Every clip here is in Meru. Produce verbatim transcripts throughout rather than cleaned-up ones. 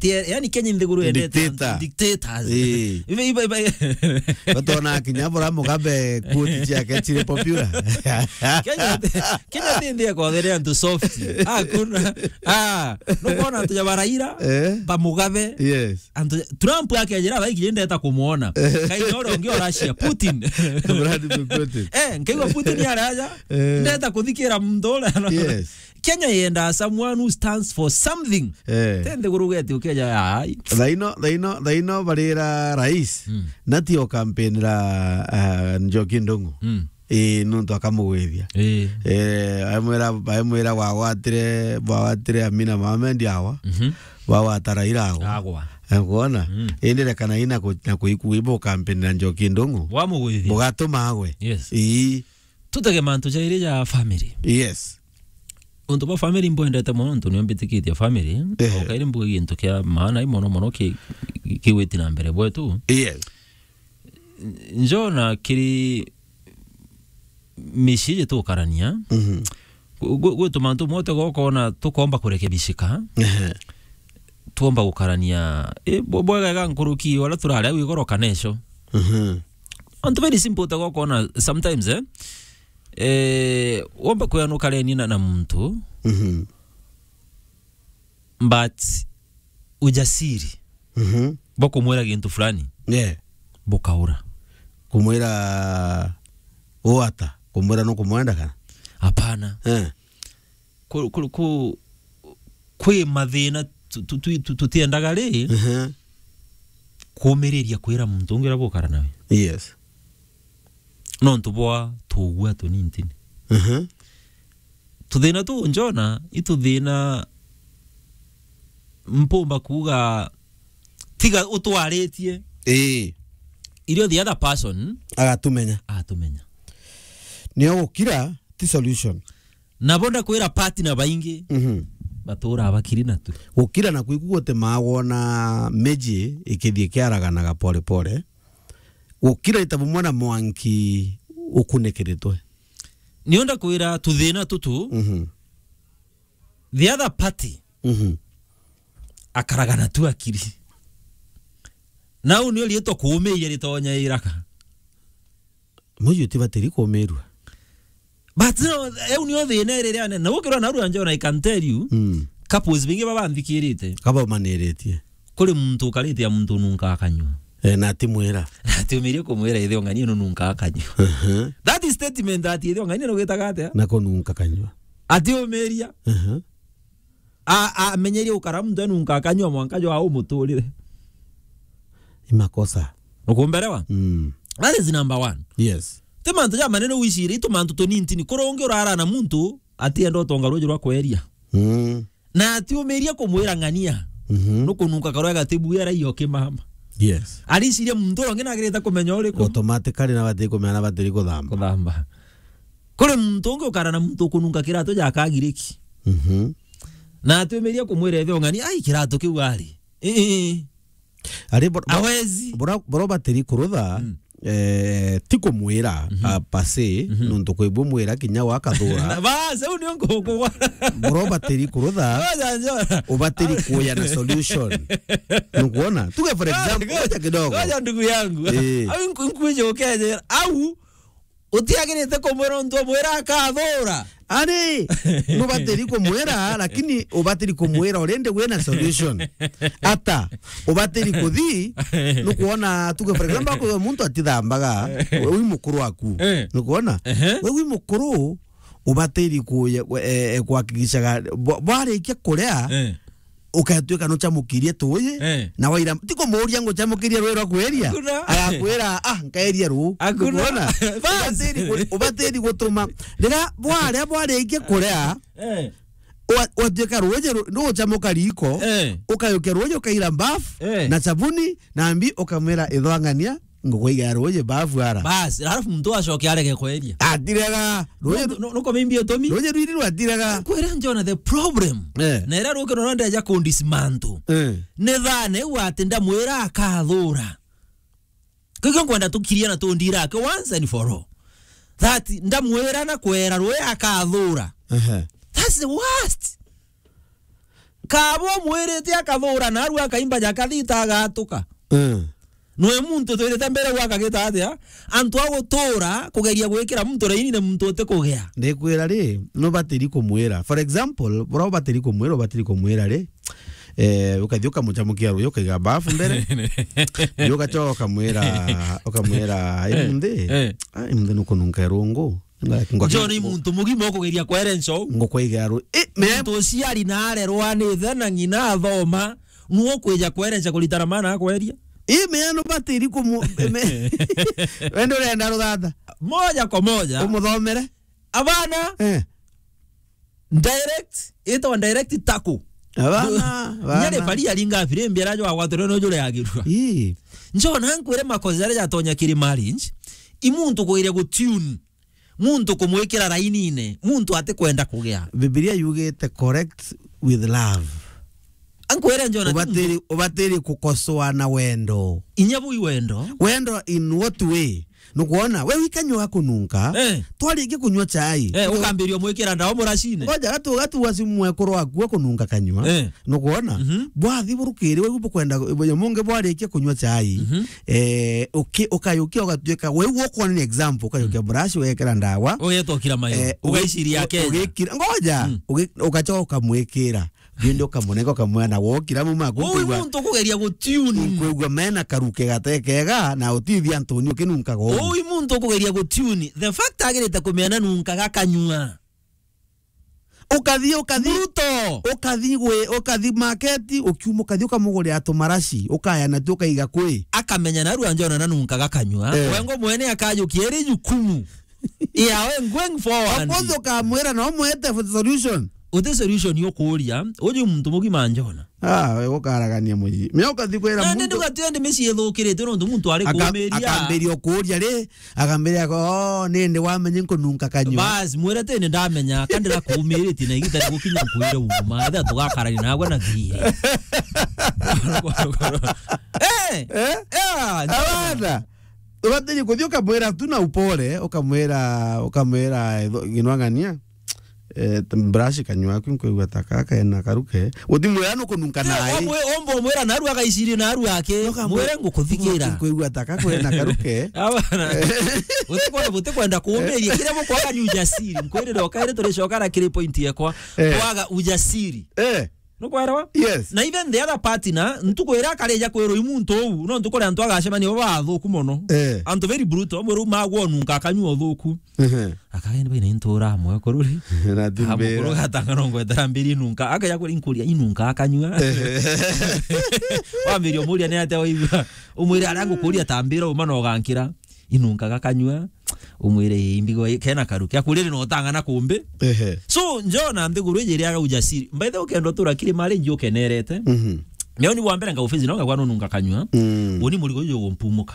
Tie-, yani Kenya nthiguru yendete antu dictators. Eh. Ibe, ibe, ibe. Batona kinya bora Mugabe quote ciake ciri popular. Kenya, Kenya ti nthi ya kwathiria antu soft. Hakuna. Ah, nukwona antu ja ba Raila, eh? Ba Mugabe. Yes. Antu, Trump akejera, "Thaa iji ndeta kumwona." Kaina uria ungi o Russia, Putin. Vladimir Putin. Eh, nkaigua Putin ari aja, eh, ndeta kuthikira muntu uria. Yes. Kenya yendaa someone who stands for something. Eh. Te nthiguru ugeti ukeja, ai. Thaino, thaino, thaino barira rais. Mm. Na ti o campaign ra, ah, Njoki Ndung'u. Mm. Ii, nuntu akamugwithia. Ii. Eh, amwira, amwira wagwatire, wagwatire Amina Mohamed awa. Mhm. Wagwata Raila awa. Agwa. Eh, kuona? Mm. Indi rekana ina ku-, na kuiku ibo campaign na Njoki Ndung'u. Wamugwithia. Bugatuma agwe. Yes. Ii. Tutege mantu jairi ja family. Yes. Untu bwa family mbwendete mono, nontu nio mbitikitie family. Ehe. O kairi mbuge gintu kia maana i mono mono ki-, ki-, kigwiti na mbere bwetu. Yes. Njona kiri micii jitukarania. Mhm. Gu-, gu-, gwi tumantu mwe utega ukona tukomba kurekebishika. Ehe. Twomba gukarania, i, bwe-, bwegega nkuruki, uria turari au igoro kana ico. Mhm. Antu very simple, utega ukona sometimes, eh, eh, womba kwianukara ni na, na muntu, mhm, but ujasiri, mhm, bwa kumwira gintu fulani, yeah, bukaura. Kumwira uu ata? Kumwira nukumwenda kana? Hapana. Eh. Ku-, ku-, ku-, kwi mathina tu-, tu-, tu-, tu-, tutiendaga ri, mhm, kumiriria kwira muntu ungi uria bukara nawe. Yes. Nontu bwa tugua tunintini. Mhm. Tuthina tuu njona, i tuthina mpumba kuuga tiga utwaritie. Ii. Irio the other person agatumenya. Atumenya. Nio gukira ti solution. Nabo ndakwira partner baingi, mhm, baturaa bakiri natu. Gukira na kwiku gutimaa wona miji ikithii ikiaraganaga pole pole. Gukira ita bumwe na mwanki ukunikiritwe. Nio ndakwira tuthina tutu, mhm, the other party, mhm, akaraga natu akiri. Nau nio riitwa kuumiria ritonya iraka. Muji utibatiri kuumirua. But no, eu nio thina iri riane. Na ukirwa narua njona, I can tell you, mm, couples bingi baba nthikirite. Kaba umaniritie. Kuri muntu ukarite ya muntu nunka akanyua. Eh, na atimwira. Na atiumirie kumwira ithe ong'ania nunka akanyua. Mhm. That is statement that ithe ong'ania nugitaga atia? Na kununka akanyua. Atiumiria. Mhm. A, amenyerie gukara muntu enunka akanyua mwanka jwa umuturire. I makosa. Ukumbelewa? Mm. That is number one. Yes. Ti mantu ja manene wiciri, itu mantu tunintini. Kuri ungi urara na muntu, atienda utonga ruji rwa kweria. Mm. Na atiumiria kumwira ng'ania. Mhm. Nukununka karwa gatibu era iyo kimama. Yes. Ariciria muntu uria ungi nagirite kumenya uriku. Automatically na bati kumenya na batiri kuthamba. Kuthamba. Kuri muntu ungi ukara na muntu ukununka kiratu ja kagiriki. Mhm. Na atumiria kumwira ithe ong'ani, "Ai, kiratu kiu ari." Ii. Ari bor-, bor-, hawezi. Bora, bora batiri kurutha, mm, eh, ti kumwira, mhm, a, per se, mhm, nontu kwi bumwira kinya wakathura. Bas, au nio nkukugwa. Bora batiri kurutha, ngoja, njora, ubatiri kuya na solution. Nukuona? Tuge for example, ngoja, ngoja kidogo. Ngoja ndugu yangu. Eh. Au nku-, nkwije ukejera. Au utiagirite kumwira untu umwira akathura. Ari, nubatiri kumwira, lakini ubatiri kumwira already wina solution. Ata, ubatiri kuthi, nukuona tuge, for example, kwa muntu atithambaga, we wi mukuru waku. Eh. Nukuona? Ehe. We wi mukuru, ubatiri kuye-, we-, eh, eh, kuhakikishaga, bwa-, bwarikia kuria, eh, ukatuika nuchamukirie tuuji, eh, na waira, ti kumuuria nguchamukirie rui rwa kweria. Hakuna. Agakwira, "Ah, nkaeria ruu." Hakuna. Ukwona? Bas. Ubatiri gu-, ubatiri gutuma. Riria bwaria bwarikia kuria, eh, ua-, watuika ruuji ru-, nuguchamuka riko, eh, ukayukia ruuji ukaira mbafu, eh, na chabuni, na mbi ukamwira, "Ithwang'ania, ngukwaiga ruuji mbafu ara." Bas, alafu muntu acoke arege kweria. Atirega. Ruuji nu-, nu-, nuko mimbi utumi? Ruuji rwiri rwatirega. Kwira njona the problem. Eh. Na ira rukiro no ndeja kundismantle. Eh. Ni thane u ati ndamwira akathura. Kikio nkwenda tukirie na tundira ake once and for all. That ndamwira na kwera ruuji akathura. Ehe. That's the worst. Kaba umwirite akathura, narua akaimba jakathita agatuka. Mm. Nwe muntu twirite mbere gwa akagita atia? Antu a gutura kugeria gwikira muntu rainine muntu uti kugea. Ndikwira ri, nubatiri kumwira. For example, bura ubatiri kumwira, ubatiri kumwira ri, eh, ukathi ukamuchamukia ruyo, ukaiga bafu mbere. Yu ugachoka ukamwira, ukamwira, "Ai, eh, munthi, eh, ai, munthi nukununka irungu." Nga-, nga-, John, i muntu mugima ukugeria kwerenca uu. Ngukwaiga ru-, i, me- Muntu uciari na arerwa ni ithe na ng'ina athoma, nuo kwija kwerenca kuritana maana akweria. I, me nubatiri kumu-, me-, wende urenda ruthata? Moja kwa moja. Umuthomere? Abana. Eh. Direct, itawa direct tackle. Abana, abana. Nyare bari aringa firimbi arajo agwatire no jure agirua. Ii. John, ankwire makosa jaria jatonya kiri marriage, i muntu kugeria gutune. Muntu kumwikira rainine, muntu atikwenda kugea. Bibilia yugite correct with love. Ankwire John, ubatiri, ubatiri kukosoa na wendo. Inya bui wendo. Wendo in what way? Nukwona, we wikanyua kununka, eh, twarikia kunyua chai. Eh, ukambiria mwikira ndawa muracine. Ngoja, gatu, gatu wa simu mwekuru waku kununka kanyua. Eh. Nukwona? Mhm. Bwathi burukiri, we bukwenda, mungi bwarikia kunyua chai. Mhm. Eh, uki-, ukayukia ugatuika, we ukwona ni example, ukayukia, mm, brush, wekira ndawa. Ugetokira mayo. Eh, ugaiciria ugi-, Kenya. Ugikira, ngoja, mm, ugi-, ugachoka mwikira. Bindi ukamunenga ukamwena wokira mu maku. Uu i muntu ukugeria gutune. Nkwigua mena karuke gatekega na utithia ntuni ukinunkaga uu. Uu i muntu ukugeria gutune. The fact agirite kumena nunkaga kanyua. Ukathi, ukathi. Brutal. Ukathi gwe, ukathi market, ukiuma ukathi ukamugurira tumaraci, ukaya natio ukaiga kwi. Akamenya narua John nanunkaga kanyua. Eh. Wengo mwene akajukia iri jukumu. Yeah, we going forward. Of course ukamwira no mwete for the solution. Uti solution yo kuria, uju muntu mugima John. Ah, we gukaragania muji. Me ukathi kwira muntu. Nandi ndugatuende micii ithukirite nontu muntu ari kumiria. Akambiria kuria ri, akambiria ko, "Oh, nindi wamenye nkununka kanyua." Bas, mwire tene ndamenya, kandira kumiritie na igita rigukinya nkwire uma, etha tugakarania nagwe na thiri. Eh? Eh? Yeah, John. Abana. Ubatiri kuthi ukamwira tu na upole, ukamwira, ukamwira, eh, tho-, ginwang'ania, eh, t-, brush kanyua aku, nkwigua ta kaka ena karuke. Uthi mwira nukununka nae. Omwe, ombo mwira naru agaiciri naru ake. Mwire ngukuthikira. Nkwigua ta kaka ena karuke. Abana. Utikwa-, utikwenda kuumiria. Kiria mukwaga ni ujasiri. Nkwirire okaire turicokara kiri point yekwa. Eh. Kwaga ujasiri. Eh. Nukwelewa? Yes. Na even the other partner, ntuku iria akarija kwirwa i muntu uu, no ntuku iria antu agacemania baba athuku mono. Eh. Antu very brutal, amwe riu magwa ununka akanyua uthuku. Ehe. Akagenda baina intura amwe kururi. Na timbira. Amukuru gatanga no ngwetera mbiri inunka, akaja kuri nkuria inunka akanyua. Ehe. Wambiria umuria ni atia waigua? Umwire aria ngukuria ta mbira uma no gankira. Inunkaga kanyua, umwire, "Ii, mbigo ii, kena karuke." Akurire no utang'ana kumbi. Ehe. So, John, nthiguru iji iriaga ujasiri. By the way, ukenda utura kiri mari nji ukenerete. Mhm. Leo ni bwa mbere ngagufezi no ngagwa nununka kanyua. Mm. Uni murigo uju ugumpumuka.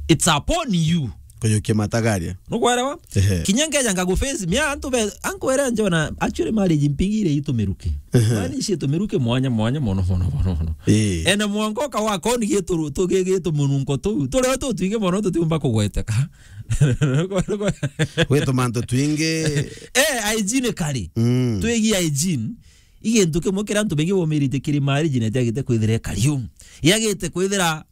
It's upon you. Kuyukia matagaria. Nukwelewa? Ehe. Kinya ngeja ngagufezi, mia antu be, ankwere John, actually marriage mpigire itumiruke. Ehe. Mani ici itumiruke mwanya, mwanya, mono, mono, mono, mono. Ii. Ena mwanka uka wakoni gitu, tu-, gi-, gitumununko tuu. Turi o tutwingi mono tutiumba kugweteka. Gwi tumantu twingi. Eh, hygiene kari. Mm. Twigi hygiene. I gintu kimwe kiria antu baingi bomirite kiri marriage na itiagite kwithira ikari u. Yagite kwithira,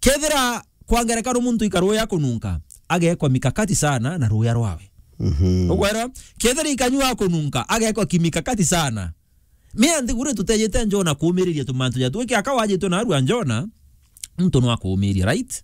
kethira kwa ngerekano muntu ikaruya kununka, agekwa mikakati sana na ruya rwawe. Mhm. Ukwera? Kethira ikanyua kununka, agekwa kimikakati sana. Mea nthiguru tutejete Jona kuumiriria tumantu ja twiki aka wajitwe na arua Jona, muntu no akuumiria, right?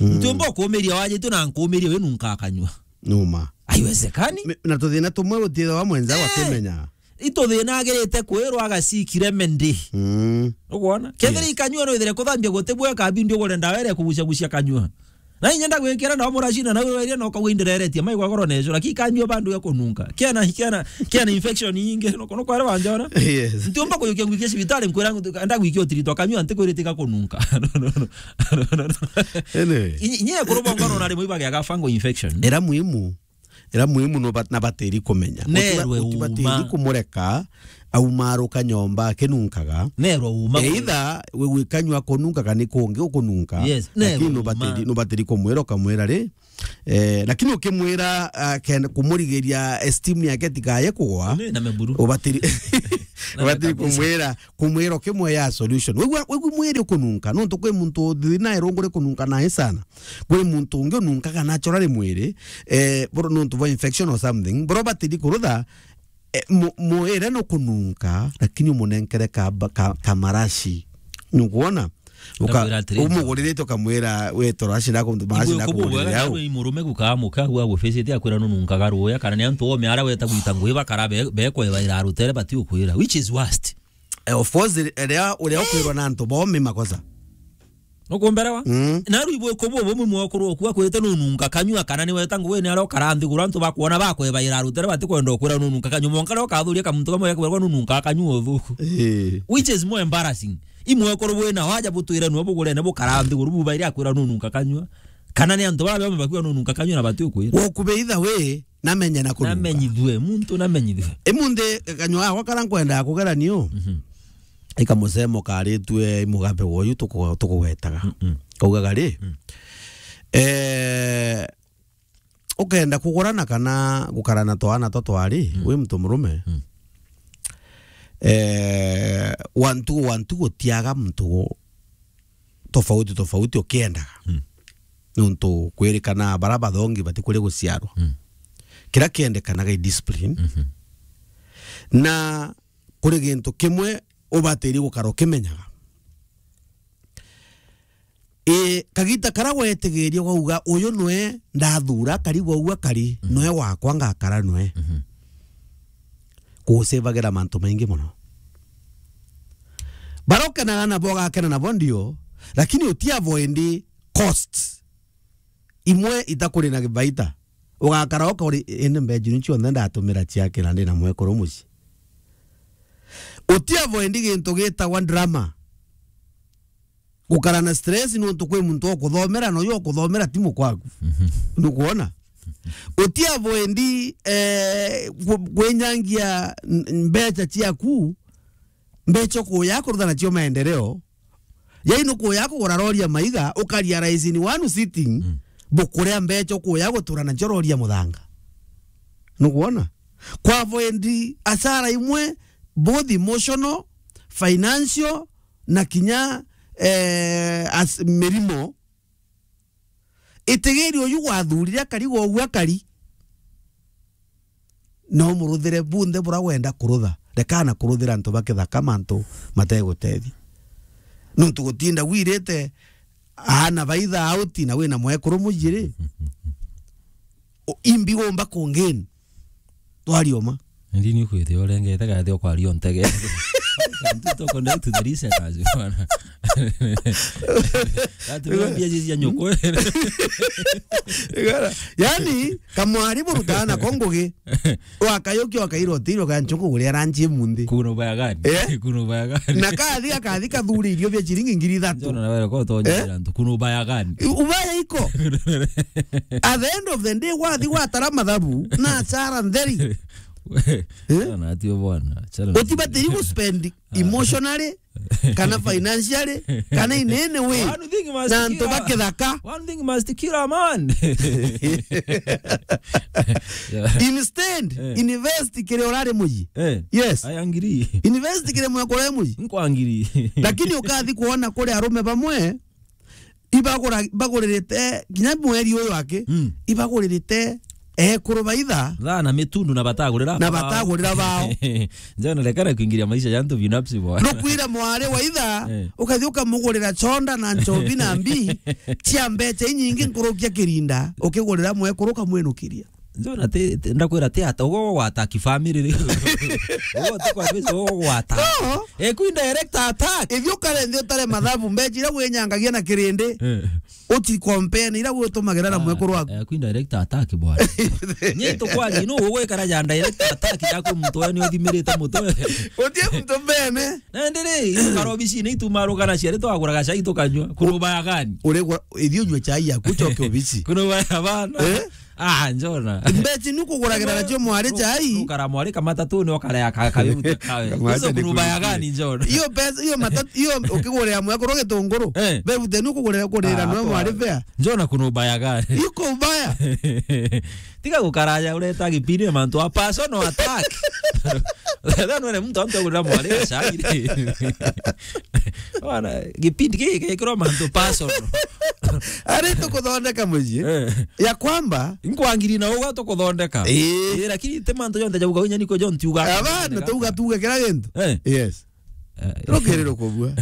Mm. Ntiumba ukuumiria wajitwe na nkuumiria wi nunka akanyua. Numa. Haiwezekani. Me-, na tuthina tumwe gutithagwa mwenza, eh, wakimenya. Ituthina agirite kwirwa agaciikire mendi. Mm. Ukwona? Kethira, yes, ikanyua no ithire kuthambia guti bweka bindi ugure ndawa iria kugucagucia kanyua. Na inya ndagwikira ndawa muracina na weria no kagwa indereretie, mai gwagoro nejo, lakini kanyua bandu ya kununka. Kiana, kiana, kiana infection nyingi, no kono kware wanjona. Yes. Ntiumba kuyukia ngwikia cibitari, nkwira ndagwikia utiritwa kanyua, ntikwirite gakununka. No, no, no. No, no, no, no. Anyway. Inye kurubonga no nari muiba gya fungal infection. Era muhimu. Era muhimu no bat-, na batiri kumenya. Nerwe utiba-, utibatiri uma. Kumureka, aumaruka nyomba akinunkaga. Nerwe uma. Either we gwikanyua kununka kana kungi ukununka. Yes, nerwe. Lakini no batiri, uma. No batiri kumwira ukamwira ri, Eh, lakini ukimwira, ah, ken-, kumurigiria esteem yake tikaye kugwa, Ni na meburu. ubatiri, Na ubatiri mekanisha. kumwira, kumwira ukimwea solution. Wigua, wigua mwiri ukununka, nontu kwi muntu uthi na irungu rikununka nae sana. Kwi muntu ungi ununkaga naturally mwiri, eh, bro, nontu bwa infection or something. Bro, batiri kurutha, eh, mu-, mwire nukununka, lakini umunenkere ka, ka, ka marashi. Nukwona? Uka-, Ndakwira atiri, umuguririte ukamwira, "We, toro aci nako, maraci Igwe nako kubu mugurire bwega au." Nawe i murume gukaa muka, gwa guficite akwira nununkaga ruya, kana ni antu ome ara weta gwita ngui bakara be-, bekweba ira rutere bati ukwira, which is worst. Eh, of course, ria, uria ukwirwa na antu bomi makosa. Nukumberewa? Mm. Na riu ibwe kubu bumwe mwekuru oku akwirite nununka kanyua, kana ni weta ngui ni ara ukara nthiguru antu bakwona bakweba ira rutere bati kwenda ukwira nununka kanyua. Monka ro kathuria kamuntu kamwe gakwirwa nununka kanyua uthuku. Eh. Which is more embarrassing. Imwekuru bwina waja butwire nwe bugurene bukara nthiguru bubaire akwira nununka kanyua. Kana ni antu bara bame bakwira nununka kanyua na bati ukwira. Wokubeitha we, namenye na kununka. Namenyithue, muntu namenyithue. Imunthi kanyua gakwa kara nkwenda kugerania u. Mhm. Ikamusemo karitue imugambe woyu tuku-, tukugwetaga. Mm-mm. Kaugaga ri, Mm. eh, ukenda kugurana kana gukarana twana twa twari, Mm. wi muntu murume, Mm. eh, wantu, wantu gutiaga muntu tofauti, tofauti ukiendaga. Mm. Nontu kwirikana bara bathongi bati kuri guciarwa. Mm. Kira kiendekanaga i discipline. Mhm. Na kuri gintu kimwe ubatiri gukara ukimenyaga. Ii, kagita kara wetigiria wauga, "Uyu nwe ndathura, kari gwau akari, Mhm. nwe wakwa ngakara nwe." Mhm. Kugusevagira mantu maingi mono. Bara ukenaga nabo ugakena nabo ndio, lakini uti avoid costs imwe itakuri na baita. Ugakara uka uri, "Indi mbeeji ni cionthe ndatumira ciakira ndi na mwekuru mucii." Uti avoid gintu gitagwa drama. Gukara na stress nontu kwi muntu ukuthomera, na uyu ukuthomera ti mukwaku. Mhm. Nukwona? Uti avoid, eh, ku-, kwinyangia n-, mbecha ciaku, mbecha ukuya kurutha nacio maendeleo. Yai nukuya kugura rori ya maiga, ukaria rice in one sitting, Mm. bukuria mbecha ukuya gutura nacio rori ya muthanga. Nukwona? Kwa avoid asara imwe, both emotional, financial, na kinya, eh, as-, mirimo. Itigiri uyu gwathurire akari gwa ugu akari. No muruthire bunthe bura wenda kurutha. Rekana kuruthira antu ba kithaka mantu mategutethia. Nontu gutinda wirite aana baitha auti na wina mwekuru mujiri. O-, imbi gumba kungin. Twari uma. Ndi ni kwithia urengete gathi ukwaria untege. Kantu to connect to the listeners, bwana. Ati mbia cia nyoko. Igara. Yani, kamwari burutana ko ngugi. Wakayukia wakaira utiri ukancho kuguria ranchi munthi. Kuna ubaya gani? Eh? Kuna ubaya gani? Na kathi, akathi kathuri irio bia chiringi ngiri ithatu. Njona na wewe kwa utonye Eh? Antu. Kuna ubaya gani? Ubaya iko. At the end of the day, wathi watara mathabu, na chara ntheri. Eh? Chana atio bwana. Chana Utibatiri gu spend emotionally, kana financially, kana in any way. One thing must Na antu kill a, ba kithaka. One thing must kill a man. Yeah. Instead, Eh. invest kiri urari muji. Eh. Yes. I agree. Invest kiri mwekore muji. Nkwangiri. Lakini ukathi kuona kuri arume bamwe, ibagura-, baguririte kinya mweri uyu aki, Mm. ibaguririte ekuru baitha. Thaa na mitundu na batagurira Na bao. batagurira bao. Njana rekana kuingiria maisha ya antu binafsi bwana. Nukwira mwari wa itha, Eh. ukathi ukamugurira chonda na nchobi na mbi, cia mbecha inyingi nkurukia kirinda, ukigurira mwekuru ukamwinukiria. Njona ti, ti, ndakwira ti ata, ugo gwata ki family ri. Ugo ti kwa pesa, ugo gwata. No. Eku indirect attack. Ithi ukare nthi utare mathabu, mbecha iria winyangagia na kirindi. Eh. Uti compare na iria gutumagira na Ah, mwekuru waku. Eku indirect attack bwana. Ni tukwaria, no ugwikara ja direct attack yaku muntu we ni uthimirite mutwe. Utie muntu mbene. Na ndiri, ukara obicine itumaruga na ciari twaguraga cai tukanyua. Kuna ubaya gani? Uregwa, ithi unywe chai yaku, ucoke obici. Kuna ubaya bana. Eh? Ah, Njona. Mbechi ni kuguragira nacio mwari chai. Ukara mwari ka matatuni, ukarea ka, ka, kawe. Kamata. Hizo ni kuna ubaya gani, Njona? Hiyo pesa, hiyo matatu, hiyo ukigurira mwekuru gitunguru. Eh. Bebute ni kugurira, kurira no mwari fare. Njona, kuna ubaya gani? Iko ubaya. Tiga gukaraja ureta gipindi mantu a personal attack. Thano ni muntu antu agurira mwari gacai. Bwana, gipindi giki gikirwa mantu personal. Ari tukuthondeka mucii. Eh. Ya kwamba. Nkwangiri na uga tukuthondeka. Ii. Ii, lakini ti mantu jonthe jauga unya niko jo ntiuga. Abana, tuga, tuga kira gintu. Eh. Yes. Eh. Rukiri rukubua.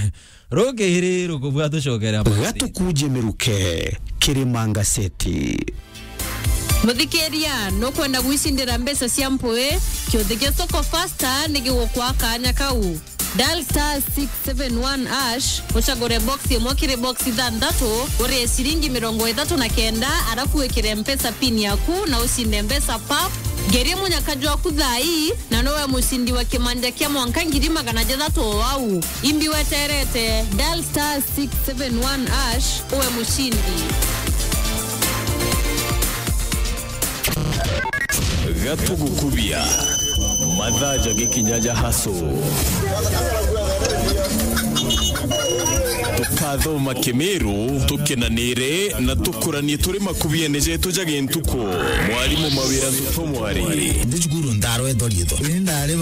Rukiri rukubua tucokere amwe. Gatukuje miruke, Kirima Ngaseti. Muthikiria, nukwenda gwicindira mbeca cia mpui? Kiuthi kia Soko Fasta ni gigukwa kanya kau. Dial star six seven one hash, ucagure box imwe kiri box ithanthatu, urie ciringi mirongo ithatu na kenda, arafu wikire Mpesa pin yaku na ucinde mbeca pap. Ngerie munyaka jwaku thaa ii, na nowe mucindi wa kimanja kia mwanka ngiri magana jathatu o au. Imbi weterete, dial star six seven one hash, uwe mucindi. Gatugukubia. Mathaa jagikinya ja haso. Tukathoma Kimiru, tukenanire na tukuranie turi makubiene jetu ja gintuku. Mwarimu Mawira Ntutu Mwari. Ndi cukuru ndarwetwa riitwa. Ni ndari